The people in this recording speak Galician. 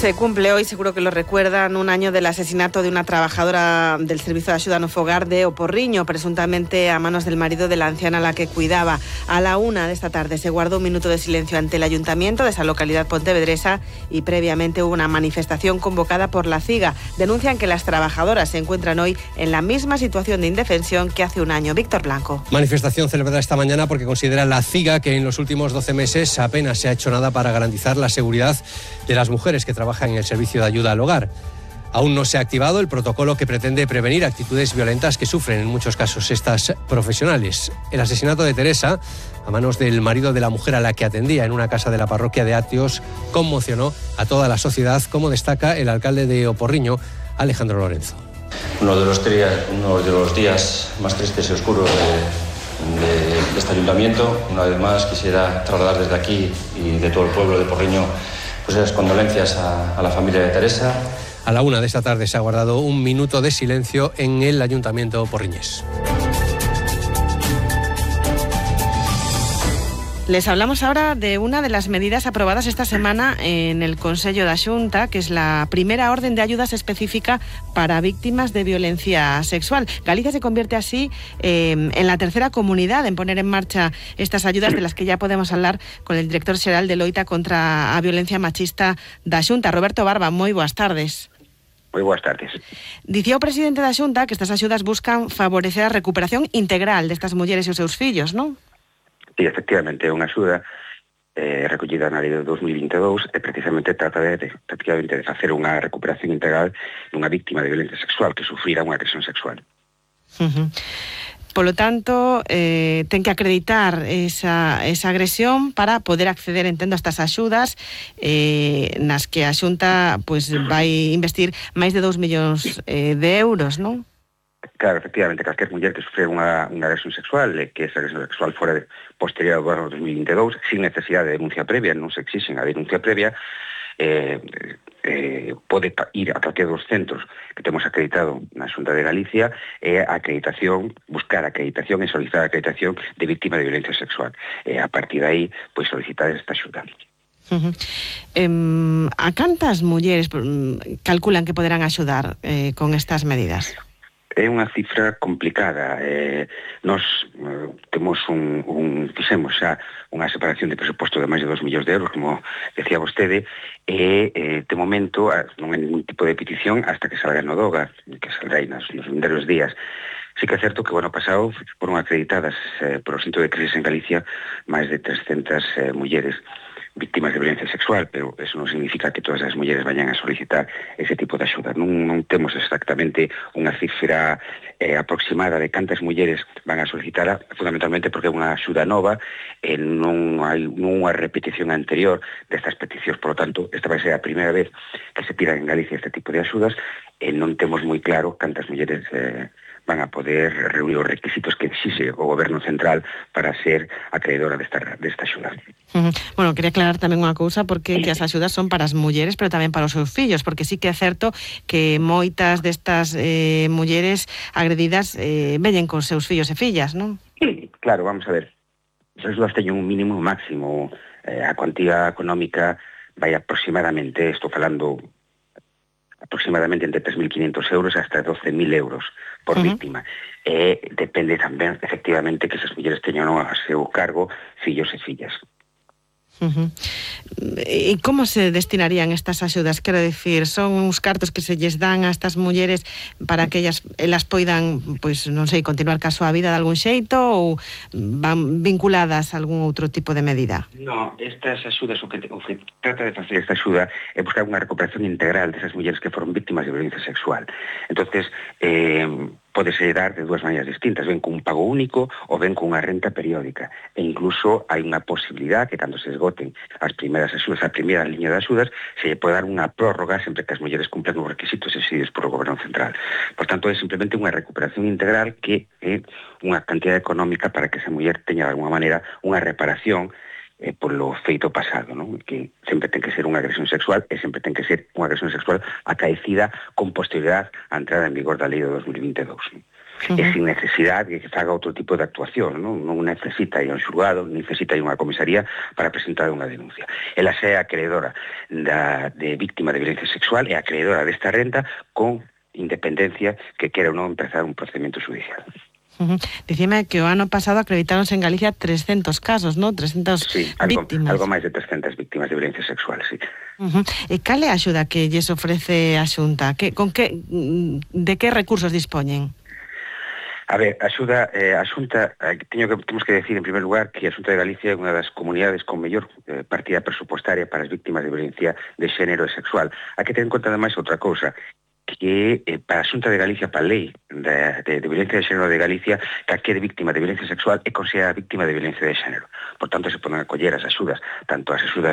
Se cumple hoy, seguro que lo recuerdan, un año del asesinato de una trabajadora del Servicio de Axuda no Fogar de O Porriño, presuntamente a manos del marido de la anciana a la que cuidaba. A la 1 de esta tarde se guardó un minuto de silencio ante el ayuntamiento de esa localidad pontevedresa y previamente hubo una manifestación convocada por la CIGA. Denuncian que las trabajadoras se encuentran hoy en la misma situación de indefensión que hace un año. Víctor Blanco. Manifestación celebrada esta mañana porque considera la CIGA que en los últimos 12 meses apenas se ha hecho nada para garantizar la seguridad de las mujeres que trabajan en el servicio de ayuda al hogar. Aún no se ha activado el protocolo que pretende prevenir actitudes violentas que sufren en muchos casos estas profesionales. El asesinato de Teresa, a manos del marido de la mujer a la que atendía en una casa de la parroquia de Atios, conmocionó a toda la sociedad, como destaca el alcalde de O Porriño, Alejandro Lorenzo. Uno de los días más tristes y oscuros de este ayuntamiento. Una vez más quisiera trasladar desde aquí y de todo el pueblo de Porriño pues las condolencias a la familia de Teresa. A la 1 de esta tarde se ha guardado un minuto de silencio en el ayuntamiento porriñés. Les hablamos ahora de una de las medidas aprobadas esta semana en el Consello da Xunta, que es la primera orden de ayudas específica para víctimas de violencia sexual. Galicia se convierte así en la tercera comunidad en poner en marcha estas ayudas, de las que ya podemos hablar con el director xeral de Loita contra a Violencia Machista da Xunta, Roberto Barba. Moi boas tardes. Moi boas tardes. Dicía o presidente da Xunta que estas axudas buscan favorecer a recuperación integral destas mulleres e os seus fillos, non? Sí, efectivamente, é unha axuda recollida na lei de 2022 e precisamente trata de facer unha recuperación integral dunha víctima de violencia sexual que sufrira unha agresión sexual. Polo tanto, ten que acreditar esa agresión para poder acceder, entendo, a estas axudas nas que a Xunta pues, vai investir máis de 2 millóns de euros, non? Claro, efectivamente, calquer muller que sufre unha agresión sexual e que esa agresión sexual fora posterior ao ano 2022, sin necesidade de denuncia previa, non se exixen a denuncia previa, pode ir a calquer dos centros que temos acreditado na Xunta de Galicia e a acreditación, buscar acreditación e solicitar acreditación de víctima de violencia sexual. E a partir de aí, pois solicitar esta axuda. A cantas mulleres calculan que poderán axudar con estas medidas? É unha cifra complicada. Nos temos fixemos xa unha separación de presuposto de máis de 2 millóns de euros, como decía vostede, e de momento non hai ningún tipo de petición hasta que salga no DOGA, que saldrá aí nos vindeiros días. Sí que é certo que o ano pasado foron acreditadas por o Centro de Crisis en Galicia máis de 300 mulleres víctimas de violencia sexual, pero eso non significa que todas as mulleres vayan a solicitar ese tipo de axuda. Non temos exactamente unha cifra aproximada de cantas mulleres van a solicitar, fundamentalmente porque é unha axuda nova e non hai unha repetición anterior destas peticións. Por lo tanto, esta vai ser a primeira vez que se pidan en Galicia este tipo de axudas e non temos moi claro cantas mulleres van a poder reunir os requisitos que exixe o Goberno Central para ser acreedora desta axuda. Bueno, quería aclarar tamén unha cousa, porque que as axudas son para as mulleres, pero tamén para os seus fillos, porque sí que é certo que moitas destas mulleres agredidas veñen con seus fillos e fillas, non? Sí, claro, vamos a ver. As axudas teñen un mínimo máximo. A cuantía económica vai aproximadamente, estou falando aproximadamente entre 3.500 euros hasta 12.000 euros por víctima. E depende tamén, efectivamente, que esas mulleres teñan a seu cargo fillos e fillas. E como se destinarían estas axudas? Quero dicir, son uns cartos que se lles dan a estas mulleres para que elas poidan, pois, non sei, continuar ca súa vida de algún xeito, ou van vinculadas a algún outro tipo de medida? No, estas axudas, o que trata de facer esta axuda é buscar unha recuperación integral desas mulleres que foron víctimas de violencia sexual. Entonces, pódese dar de dúas maneiras distintas, ben cun pago único ou ben cunha renta periódica. E incluso hai unha posibilidad que cando se esgoten as primeiras axudas, a primeira liña de axudas, se lle pode dar unha prórroga sempre que as mulleres cumplan os requisitos exigidos por o Goberno Central. Por tanto, é simplemente unha recuperación integral que é unha cantidad económica para que esa muller teña de alguma maneira unha reparación polo feito pasado, non? Que sempre ten que ser unha agresión sexual e sempre ten que ser unha agresión sexual acaecida con posterioridade á entrada en vigor da lei de 2022. e sin necesidade de que faga outro tipo de actuación, non necesita ir a un xulgado, necesita ir a unha comisaría para presentar unha denuncia. Ela é acreedora de víctima de violencia sexual e acreedora desta renta con independencia que quera ou non empezar un procedimento judicial. Dicime que o ano pasado acreditáronse en Galicia 300 casos, ¿no? 300 víctimas. Algo máis de 300 víctimas de violencia sexual, sí. E cal é a axuda que lles ofrece a Xunta? De que recursos dispoñen? A ver, a Xunta, temos que decir en primer lugar que a Xunta de Galicia é unha das comunidades con mellor partida presupostaria para as víctimas de violencia de xénero e sexual. Hai que ter en conta ademais outra cousa, que para a Xunta de Galicia, para a lei de violencia de xénero de Galicia, calquera víctima de violencia sexual é considerada víctima de violencia de xénero. Por tanto, se poden acoller as axudas, tanto as axudas